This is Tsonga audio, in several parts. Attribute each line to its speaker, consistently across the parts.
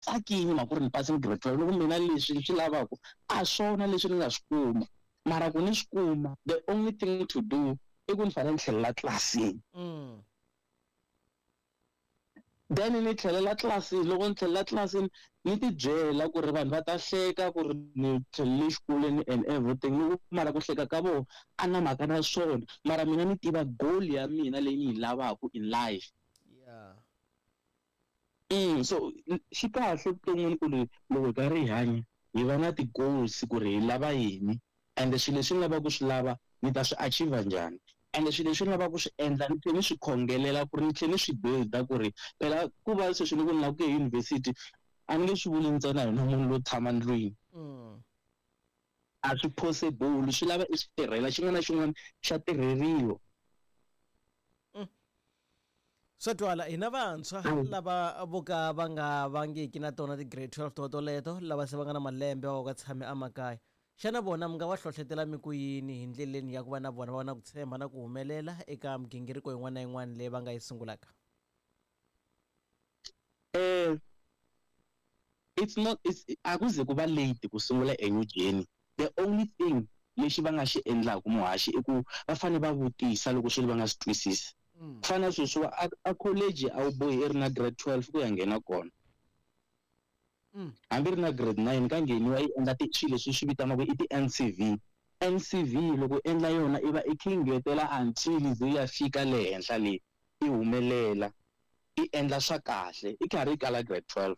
Speaker 1: Tsakile mhaka ku ri ni pasini grade 12, ni ku mina leswi ni swi lavaka a swona leswi ni nga swi kuma, mara ku ni swi kuma the only thing to do i ku ni fanele ni tlhelela tlilasini. Then ni tlhelela tlilasini, loko ni tlhelela tlilasini ni ti byela ku ri vanhu va ta hleka ku ri ni tlhelele xikolweni and everything, ni ku mara ku hleka ka vona a na mhaka na swona, mara mina ni tiva goal ya mina leyi ni yi lavaka in life. So xi kahle vuton'wini ku ri loko hi karhi hi hanya hi va na ti-goals ku ri hi lava yini, ende swilo leswi ni lavaka ku swi lava ni ta swi achieve njhani, ende swilo leswi ni lavaka ku swi endla ni tlhela ni swi khongelela ku ri ni tlhela ni swi build-a ku ri phela ku va sweswi ni ku ni lava ku ya eyunivhesiti a ni nge swi vuli ntsena hi munhu lowo tshama ndlwini. A swi possible, swi lava i swi tirhela, xin'wana na xin'wana xa tirheriwa.
Speaker 2: Swa twala, hina vantshwa lava vo ka va nga vangiki na tona ti-grade 12 to toleto, lava se va nga na malembe va va tshame emakaya, xana vona mi nga va hlohletela mi ku yini hi ndleleni ya ku va na vona va va na ku tshemba na ku humelela eka migingiriko yin'wana na yin'wana leyi va nga yi sungulaka?
Speaker 1: It's not, it's, a ku ze ku va late ku sungula a new journey. The only thing lexi va nga xi endlaku muhaxi i ku va fanele va vutisa loko swilo va nga swi twisisi. Ku fana na sweswiwa a college a wu bohi i ri na grade 12 ku ya nghena kona. Hambi ri na grade 9 ka ngheniwa yi endla swilo leswi swi vitaniwaka i ti-N_C_V. N_C_V loko u endla yona i va i kha i ngetela until yi ze yi ya fika le henhla le, i humelela, i endla swa kahle i karhi i kala grade 12.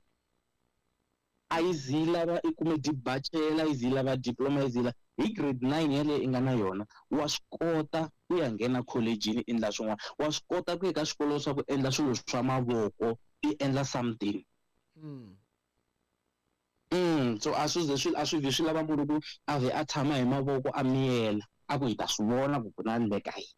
Speaker 1: A yi zi yi lava i kume dibachela, a yi zi yi lava diploma, a yi zi yi lava hi grade 9 yaleyo i nga na yona wa swi kota ku ya nghena kholejini i endla swin'wana, wa swi kota ku ya ka swikolo swa ku endla swilo swa mavoko i endla something. So a swi ze swi a swi vhi swi lava munhu ku a vhe a tshama hi mavoko a miyela a ku hi ta swi vona ku ku na endleka yini.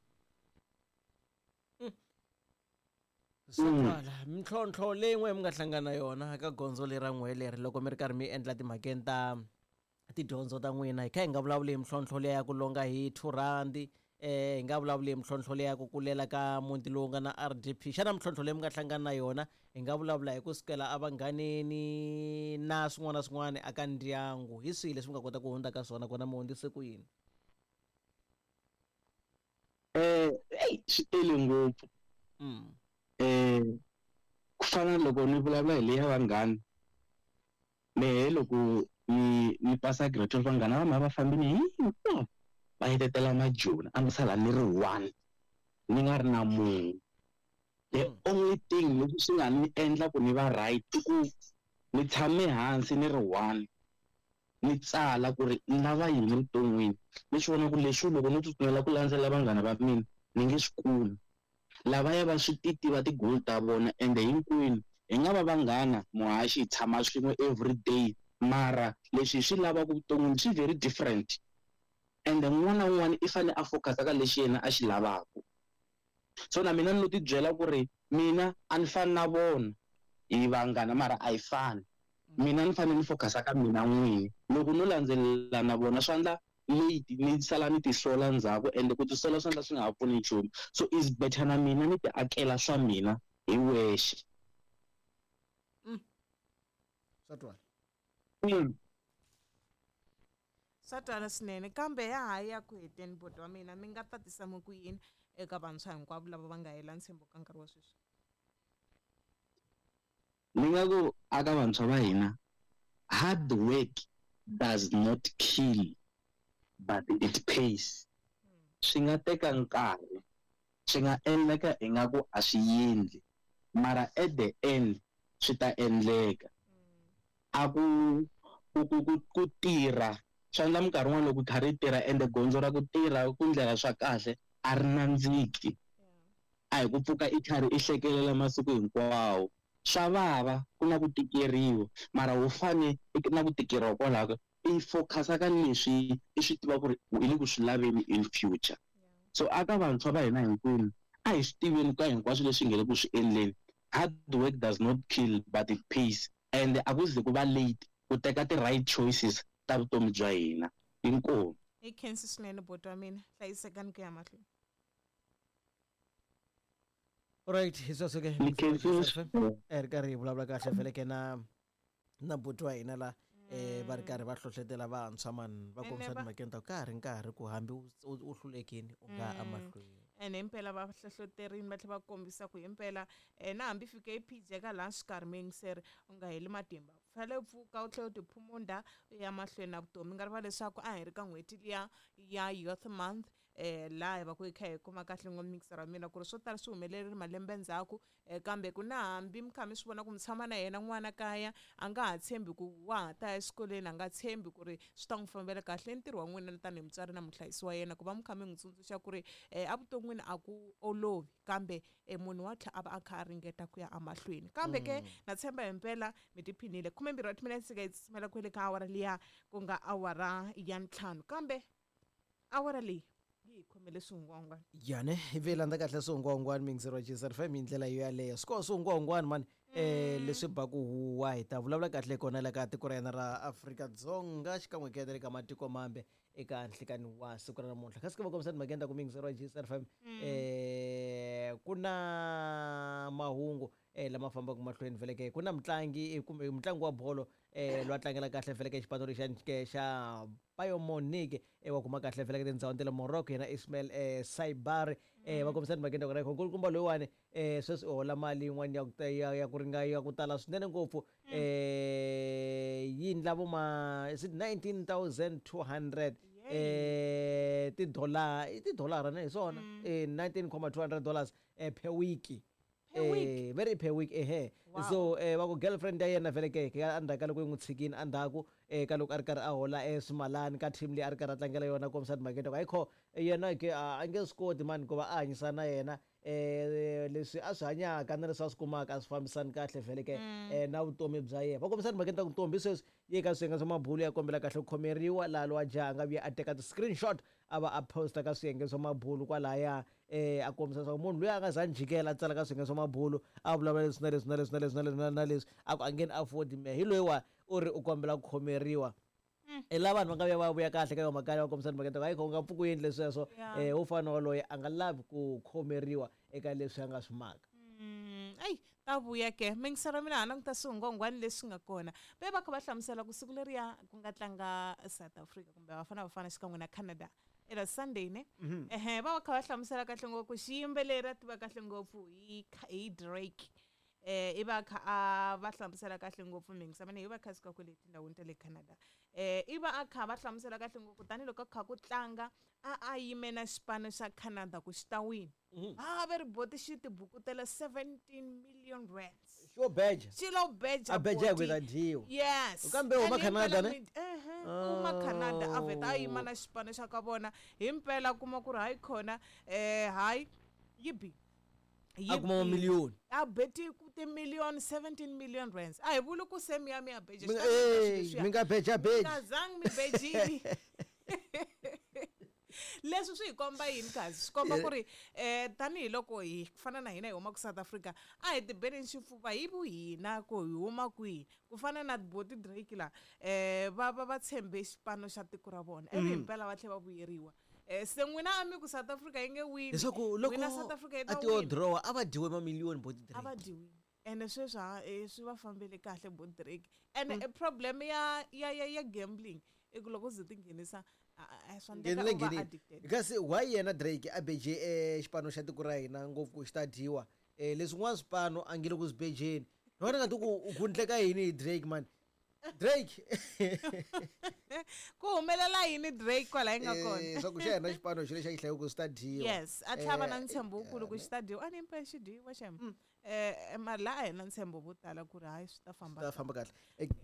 Speaker 2: Swa twala, mintlhontlho leyi n'we mi nga hlangana na yona ka gondzo leri ra n'we leri loko mi ri karhi mi endla timhakeni ta tidyondzo ta n'wina, hi kha hi nga vulavuli hi mintlhontlho liya ya ku longa hi 2 rhandi, hi nga vulavuli hi mintlhontlho liya ya ku kulela ka muti lowu nga na R_D_P. Xana mintlhontlho leyi mi nga hlangana na yona hi nga vulavula hi ku sukela evanghaneni na swin'wana na swin'wana eka ndyangu, hi swihi leswi mi nga kota ku hundza ka swona kona mi hundzise ku yini?
Speaker 1: Eyi swi tele ngopfu. Ku fana na loko ni vulavula hi leya vanghana, mehe loko ni ni pasa grade 12 vanghana va mina va fambile hinkwavo va hetetela majoni, a ni sala ni ri one ni nga ri na munhu. The only thing leswi swi nga ni endla ku ni va right i ku ni tshame hansi ni ri one ni tsala ku ri ni lava yini evuton'wini, ni swi vona ku leswi loko no tsutsumela ku landzela vanghana va mina ni nge swi kumi. Lavaya va swi ti tiva ti-goal ta vona ende hinkwenu hi nga va vanghana muhaxi hi tshama swin'we everyday, mara leswi hi swi lavaka vuton'wini swi very different ende un'wana na un'wana i fanele a focus-a ka lexi yena a xi lavaka. So na mina ni lo ti byela ku ri mina a ni fani na vona, hi vanghana mara a hi fani. Mina ni fanele ni focus-a ka mina n'wini, loko no landzelela na vona swi endla late ni sala ni tisola ndzhaku, ende ku tisola swi endla swi nga ha pfuni nchumu. So is better na mina ni ti akela swa mina hi wexe.
Speaker 2: Swa twala.
Speaker 3: Swa twala swinene, kambe ya ha ya ku heteni buti wa mina, mi nga tatisa mi ku yini eka vantshwa hinkwavo lava va nga hela ntshembo ka nkarhi wa sweswi?
Speaker 1: Ni nga ku aka vantshwa va hina, hard work does not kill but it pays. Swi nga teka nkarhi, swi nga endleka ingaku a swi endli, mara at the end swi ta endleka. A ku, ku, ku, ku, ku tirha swi endla minkarhi yin'wana loko kha ri tirha ende gondzo ra ku tirha ku ndlela swa kahle a ri nandziki. A hi ku pfuka i karhi i hlekelela masiku hinkwawo. Swa vava ku na ku tikeriwa, mara wu fane na ku tikeriwa kwalaho i focus-a ka leswi i swi tiva ku ri i le ku swi laveni in future. So aka vantshwa va hina hinkwenu a hi swi tiveni ka hinkwaswo leswi hi nge le ku swi endleni, hard work does not kill but it pays, and a ku ze ku va late ku teka ti-right choices ta vutomi bya hina. Inkomu.
Speaker 3: Hi khensi swinene buti wa mina, hlayisekani ku ya mahlweni.
Speaker 2: Right, hi sweswo ke
Speaker 1: Ni khensile swinene.
Speaker 2: Ri karhi hi vulavula kahle vhele ke na. Na buti wa hina la va ri karhi va hlohletela vantshwa mani va
Speaker 3: Ene
Speaker 2: kombisa timhakeni ta ku ka ha ri nkarhi ku hambi u hlulekini u nga ya emahlweni.
Speaker 3: Ene himpela va hlohloterini va tlhela va kombisa ku himpela na hambi fike yi phijeka laha xikarhi muyingiseri u nga heli matimba, u fanele u pfuka u tlhela u tiphumunda u ya mahlweni na vutomi. Mi nga rivali leswaku a hi ri ka n'hweti liya ya Youth Month, laha hi va ku hi kha hi kuma kahle ngopfu mixer wa mina ku ri swo tala swi humelerile malembe ndzhaku, kambe ku na hambi mi kha mi swi vona ku mi tshama na yena n'wana kaya a nga ha tshembi ku wa ha ta ya exikolweni, a nga tshembi ku ri swi ta n'wi fambela kahle. I ntirho wa n'wina tanihi mutswari na muhlayisi wa yena ku va mi kha mi n'wi tsundzuxa ku ri evuton'wini a ku olovi, kambe munhu wa tlhela a va a kha a ringeta ku ya emahlweni. Kambe ke na tshemba himpela mi tiphinile. 12 wa timinete se ka yi tsutsumela kwele ka awara liya ku nga awara ya 5, kambe awara leyi yi hi khomele swihungwahungwana.
Speaker 2: Yane hi ve landza kahle swihungwahungwana miyingiseri wa GSR FM hi ndlela yo yaleyo. Swi koho swihungwahungwana mani leswi baku huwa hi ta vulavula kahle kona la ka tiko ra hina ra Afrika-Dzonga xikan'we ke na le ka matiko mambe eka nhlikani wa siku ra namuntlha. Kasi ke va kombisa timhakeni ta ku miyingiseri wa GSR FM ku na mahungu lama fambaka mahlweni vhele ke ku na mutlangi kumbe mutlangi wa bolo loyi a tlangela kahle vhele ke xipano lexiya ke xa Bayern Munich wa kuma kahle vhele ke tindhawini ta le Morocco yena Ismail Saibari va kombisa timhakeni ta kona nkulukumba loyiwani sweswi u hola mali yin'wana ya ku ya ya ku ringa ya ku tala swinene ngopfu yi endla vo ma is it 19,200 tidollar i tidolara ne hi swona 19,200 dollars per week.
Speaker 3: Per week?
Speaker 2: Very per week ehe.
Speaker 3: Wow.
Speaker 2: So va ku girlfriend ya yena vhele ke ka endzhaku ka loko yi n'wi tshikini endzhaku ka loko a ri karhi a hola swimalani ka team leyi a ri karhi a tlangela yona kombisa timhaka ta ku ayikho yena ke a nge swi koti mani ku va a hanyisana na yena leswi a swi hanyaka na leswi a swi kumaka a swi fambisani kahle vhele ke na vutomi bya yena. Va kombisa timhaka ta ku ntombi sweswi yi ka swiyenge swa mabulu ya kombela kahle ku khomeriwa laha lowa jaha a nga vuya a teka ti-screenshot a va a posta ka swiyenge swa mabulu kwalaya a kombisa leswaku munhu luya a nga za njhikela a tsala ka swiyenge swa mabulu a vulavula leswi na leswi na leswi na leswi na leswi na leswi a ku a nge ni afford me hi loyiwa u ri u kombela ku khomeriwa. I laha vanhu va nga vuya va vuya kahle ka yo mhaka va kombisa timhaka ta ku hayi u nga pfuki u endle sweswo wo fana na waloye a nga lavi ku khomeriwa eka leswi a nga swi maka.
Speaker 3: Ayi ta vuya ke mingisero mina ha languta swihungwangwani leswi nga kona ve va kha va hlamusela ku siku leriya ku nga tlanga South Africa kumbe Bafana Bafana xikan'we na Canada era Sunday ne ehe va va kha va hlamusela kahle ngopfu xiyimbeleri a tiva kahle ngopfu hi hi Drake i va kha a va hlamusela kahle ngopfu mingisa mina hi va kha suka kwele tindhawini ta le Canada i va a kha va hlamusela kahle ngopfu tanihiloko a kha ku tlanga a yime na xipano xa Canada ku xi ta wina. A ve ri boti xi tibukutela 17 million rands.
Speaker 2: Xo beja.
Speaker 3: Xi lo beja
Speaker 2: A beja
Speaker 3: boti.
Speaker 2: ku ta dyiwa.
Speaker 3: Yes.
Speaker 2: Kambe u huma
Speaker 3: And himpela
Speaker 2: Canada ne?
Speaker 3: Ehe, u huma Canada a vheta a yima na xipano xa ka vona. Himpela kuma ku ri hayi khona hayi yi bi.
Speaker 2: A kuma mamiliyoni.
Speaker 3: A beti ku timiliyoni 17 million rands. A hi vuli ku se mi ya mi ya beja.
Speaker 2: Mi
Speaker 3: Xi ta mi beja leswiya.
Speaker 2: mi nga beja beji.
Speaker 3: Mi nga zangi mi bejini. Leswi swi hi komba yini kazi? Swi komba ku ri tanihiloko hi fana na hina hi huma ku South Africa a hi tibeleni xifuva hi vuhina ku hi huma kwihi. Ku fana na boti Drake la va va va tshembe xipano xa tiko ra vona ivi himpela va tlhela va vuyeriwa. Se n'wina a mi ku South Africa yi nge wini.
Speaker 2: Leswaku loko
Speaker 3: N'wina South Africa yi ta
Speaker 2: a ti yo
Speaker 3: wina.
Speaker 2: draw a va dyiwe mamiliyoni boti Drake.
Speaker 3: A va dyiwile. Ene sweswi ha swi va fambele kahle boti Drake. Ene problem ya ya ya ya gambling i ku loko u ze tinghenisa swa endleka
Speaker 2: Nghenile
Speaker 3: u va
Speaker 2: nghenile.
Speaker 3: addicted.
Speaker 2: Kasi why yena Drake a beje xipano xa tiko ra hina ngopfu ku xi ta dyiwa? Leswin'wana swipano a nge le ku swi bejeni. Ni vona nga ti ku ku endleka yini hi Drake man. Drake.
Speaker 3: Ku humelela yini Drake kwala yi nga kona?
Speaker 2: Swa ku xa hina xipano xi lexi a xi hlayiwa ku xi ta dyiwa.
Speaker 3: Yes, a tlhava na ntshembo wukulu ku xi ta dyiwa. A ni impela xi dyiwa xem. Mara laha a hi na ntshembo vo tala ku ri hayi swi ta famba
Speaker 2: Swi ta famba kahle.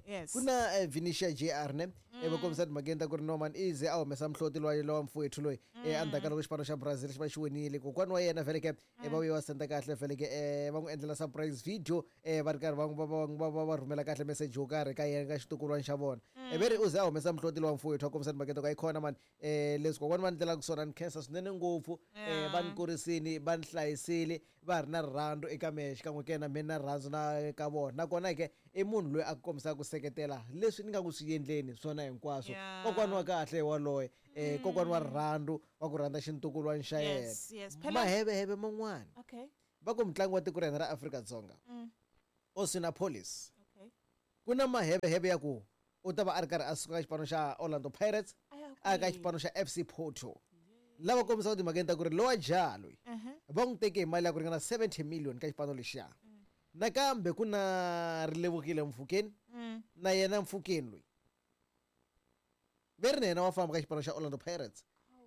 Speaker 3: Yes.
Speaker 2: Ku na Vinicius JR ne? Va kombisa timhakeni ta ku ri Norman Ize a humesa muhloti loyi lowa mfowethu loyi. Endzhaku ka loko xipano xa Brazil xi va xi winile. Kokwana wa yena vhele ke, va vuye va senda kahle vhele ke, va n'wi endlela surprise video, va ri karhi va va va va va rhumela kahle message yo karhi ka yena ka xitukulwana xa vona. Ve ri u ze a humesa muhloti lowa mfowethu a kombisa timhakeni ta ku hayi khona mani, leswi kokwana va ni endlelaka swona ni khensa swinene ngopfu. Va ni kurisini, va ni hlayisile, va ri na rirhandzu eka mehe xikan'we ke na mina na rirhandzu na ka vona. Nakona ke i munhu loyi a kombisaka ku seketela leswi ni nga ku swi endleni swona hinkwaswo. Kokwana wa kahle waloye, kokwana wa rirhandzu wa ku rhandza xintukulwana xa yena.
Speaker 3: Yes, yes. Phela
Speaker 2: Maheveheve man'wana.
Speaker 3: Okay.
Speaker 2: Va ku mutlangi wa tiko ra hina ra Afrika-Dzonga. Oswin Appollis.
Speaker 3: Okay.
Speaker 2: Ku na maheveheve ya ku u ta va a ri karhi a suka ka xipano xa Orlando Pirates
Speaker 3: A ya
Speaker 2: a ya ka
Speaker 3: kwihi?
Speaker 2: xipano xa FC Porto. Lava kombisaka timhakeni ta ku ri lowa jaha loyi va n'wi teke hi mali ya ku ringana 70 million ka xipano lexiya. Nakambe ku na Rilevukile Mfukeni na yena Mfukeni loyi ve ri na yena wa famba ka xipano xa Orlando Pirates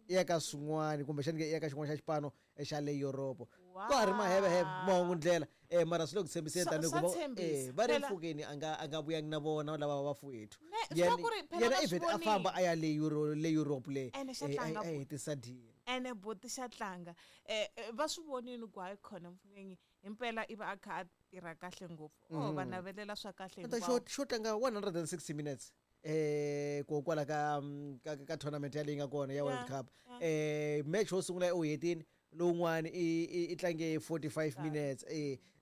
Speaker 2: i ya ka swin'wana kumbexani ke i ya ka xin'wana xa xipano xa le Europe. Ka ha ri maheveheve mahungu ndlela mara swi le ku tshembiseni
Speaker 3: Swa-
Speaker 2: tanihi
Speaker 3: swa
Speaker 2: ku va
Speaker 3: tshembisa.
Speaker 2: va ri
Speaker 3: Phela-
Speaker 2: Mfukeni a nga vuyangi na vona lava vafowethu.
Speaker 3: Ne, swi ku ri phela
Speaker 2: Yena
Speaker 3: va
Speaker 2: i
Speaker 3: swi
Speaker 2: vhete a famba
Speaker 3: vonile.
Speaker 2: a ya le le Europe le
Speaker 3: Ene xa
Speaker 2: a
Speaker 3: tlanga
Speaker 2: a
Speaker 3: buti.
Speaker 2: hetisa deal.
Speaker 3: Ene buti xa tlanga. Va swi vonile ku hayi khona Mfukeni himpela i va a kha a tirha kahle ngopfu. Oh, va navelela swa kahle
Speaker 2: Ta
Speaker 3: hinkwavo.
Speaker 2: xo tlanga 160 minutes ko kwala ka ka tournament yaleyi nga kona ya World Cup. Match wo sungula u hetini, lowun'wani i tlange 45 minutes.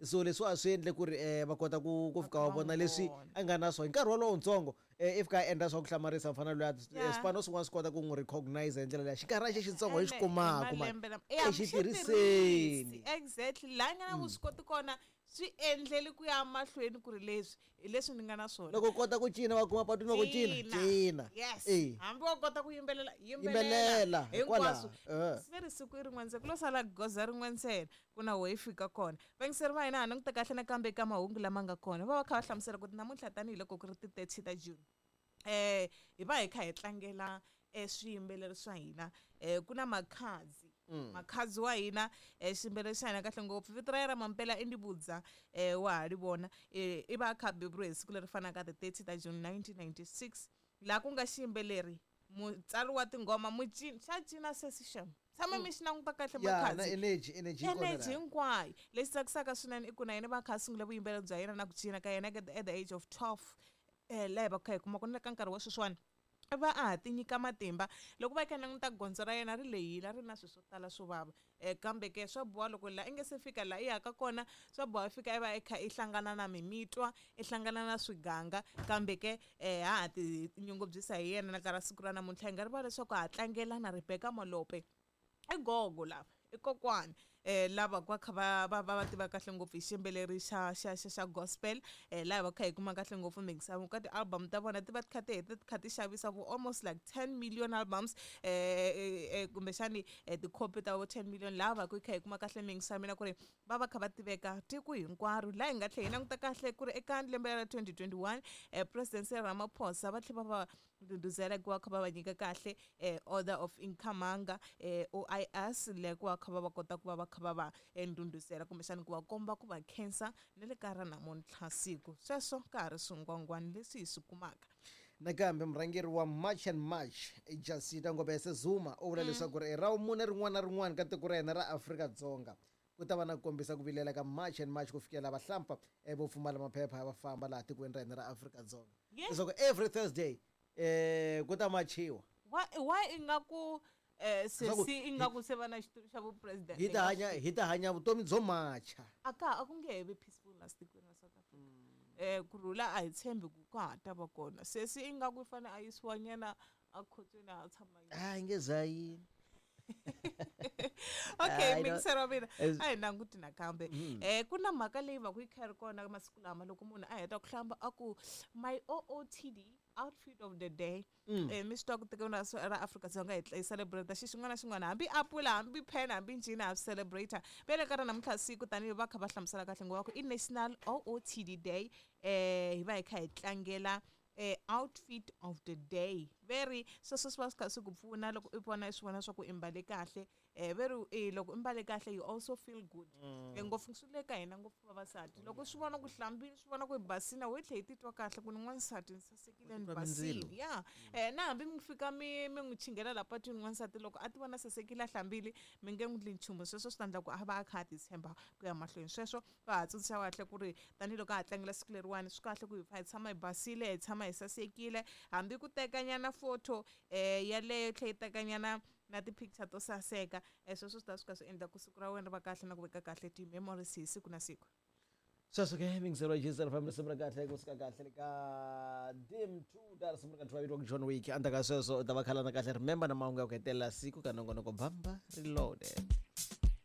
Speaker 2: So leswi a swi endle ku ri va kota ku fika
Speaker 3: Va
Speaker 2: va
Speaker 3: va
Speaker 2: vona
Speaker 3: n'wi
Speaker 2: leswi
Speaker 3: vona.
Speaker 2: a nga na swona hi nkarhi wolowo ntsongo. I fika a endla swa ku hlamarisa mfana luya.
Speaker 3: Yeah.
Speaker 2: Swipano swin'wana swi kota ku n'wi recognize hi ndlela leya xinkarhana xexi xitsongo hi xi
Speaker 3: Ene, hi
Speaker 2: kumaka mani
Speaker 3: malembe lama- Eh,
Speaker 2: e xi
Speaker 3: xi tirhisi.
Speaker 2: tirhiseni.
Speaker 3: Exactly laha nga na vuswikoti kona swi endleli ku ya mahlweni ku ri leswi hi leswi ni nga na swona.
Speaker 2: Loko u kota ku cina va kuma patwini va ku cina cina.
Speaker 3: Yes.
Speaker 2: Eh.
Speaker 3: Hambi wa kota ku yimbelela
Speaker 2: Yimbelela,
Speaker 3: yimbelela
Speaker 2: hikwalaho.
Speaker 3: hinkwaswo. Se ri siku i rin'we ntsena ku lo sala goza rin'we ntsena ku na ho yi fika kona. Vayingiseri va hina ha languta kahle nakambe eka mahungu lama nga kona va va kha va hlamusela ku namuntlha tanihiloko ku ri ti-30 ta June hi va hi kha hi tlangela swiyimbeleri swa hina. Ku na Makhadzi. Makhadzi wa hina xiyimbeleri xa hina kahle ngopfu vito ra yena ra mampela i Ndivhudza wa ha ri vona i va a kha a beburiwe hi siku leri fanaka ti-30 ta June 1996 laha ku nga xiyimbeleri mutsari wa tinghoma mucini xa cina sesi xem tshama mi xi languta kahle
Speaker 2: Ya na
Speaker 3: Makhadzi
Speaker 2: energy energy yi kona
Speaker 3: energy
Speaker 2: laha.
Speaker 3: hinkwayo. Lexi tsakisaka swinene i ku na yena va kha a sungula vuyimbeleri bya yena na ku cina ka yena at the age of 12 laha hi va kha hi kuma ku na ka nkarhi wa sweswiwani va a ha ti nyika matimba loko va kha languta gondzo ra yena ri lehile a ri na swilo swo tala swo vava kambe ke swa boha loko laha i nge se fika laha i yaka kona swa boha i fika i va i kha i hlangana na mimitwa i hlangana na swiganga kambe ke ha ha ti nyungubyisa hi yena na ka ra siku ra namuntlha hi nga rivala leswaku ha tlangela na Rebecca Malope i gogo lava i kokwani lava va kha va va va va tiva kahle ngopfu hi xiyimbeleri xa xa xa xa gospel laha va kha hi kuma kahle ngopfu mixavo ka ti-album ta vona ti va ti kha ti heta ti kha ti xavisa for almost like 10 million albums kumbexani tikhopi ta vo 10 million laha va ku hi kha hi kuma kahle mixavo mina ku ri va va kha va tiveka tiko hinkwaro laha hi nga tlhela hi languta kahle ku ri eka lembe ra 2021 President Cyril Ramaphosa va tlhela va va ndhundhuzela ku va kha va va nyika kahle Order of Ikhamanga OIS leyi ku va kha va va kota ku va va kha va va ndhundhuzela kumbexani ku va komba ku va khensa na le ka ra namuntlha siku sweswo ka ha ri swingwangwani leswi hi swi kumaka.
Speaker 2: Nakambe murhangeri wa March and March Jacinta Ngobese Zuma u vula leswaku ri ra vumune rin'wana na rin'wana ka tiko ra hina ra Afrika-Dzonga ku ta va na ku kombisa ku vilela ka March and March ku fikela vahlampfa vo pfumala maphepha va famba laha tikweni ra hina ra Afrika-Dzonga. Leswaku every Thursday ku ta machiwa.
Speaker 3: Why ingaku
Speaker 2: Leswaku
Speaker 3: sesi ingaku se va na xitulu xa vupresident
Speaker 2: hi ta hanya hi ta hanya vutomi byo macha.
Speaker 3: A ka a ku nge he vi peaceful la tikweni ra South Africa. Ku rhula a hi tshembi ku ka ha ta va kona sesi ingaku i fane a yisiwa nyana a khotsweni a tshama nyana.
Speaker 2: A yi nge za yini.
Speaker 3: Okay.
Speaker 2: I don't-
Speaker 3: Mingisero wa mina
Speaker 2: As-
Speaker 3: a hi languti nakambe ku na mhaka leyi va ku yi kha yi ri kona masiku lama loko munhu a heta ku hlamba a ku my OOTD outfit of the day mi swi tiva ku tikweni ra Afrika-Dzonga hi celebrate xi xin'wana na xin'wana hambi apula hambi pen hambi njhini ha swi celebrate vele ka ra namuntlha siku tanihi va kha va hlamusela kahle ngopfu ku i National OOTD Day hi va hi kha hi tlangela outfit of the day very sweswo swi va swi kha swi ku pfuna loko i vona i swi vona swa ku i mbale kahle veri loko i mbale kahle you also feel good. Ngopfu swi le ka hina ngopfu vavasati loko swi vona ku hlambile swi vona ku i basile we tlhe i titwa kahle ku ni n'wansati ni sasekile ni
Speaker 2: titwa
Speaker 3: basile
Speaker 2: mindzilo.
Speaker 3: Ya na hambi mi fika mi n'wi chingela la patwini n'wansati loko a ti vona sasekile a hlambile mi nge n'wi ndli nchumu sweswo swi ta endla ku a va a kha a ti tshemba ku ya mahlweni sweswo va ha tsundzuxa kahle ku ri tanihiloko a ha tlangela siku leriwani swi kahle ku hi pfa hi tshama hi basile hi tshama hi sasekile hambi ku tekanyana photo yaleyo yi tlhe yi tekanyana na ti-picture to saseka sweswo swi ta swi kha swi endla ku siku ra wena ri va kahle na ku veka kahle ti-memories hi siku na siku.
Speaker 2: Sweswo ke mingiselo ya FM risimu ra kahle kusuka kahle le ka dim 2 ta risimu ra ka vitiwaka John Wick endzhaku ka sweswo u ta va khalana kahle remember na mahungu ya ku hetelela siku ka nongonoko Bamba Reloaded.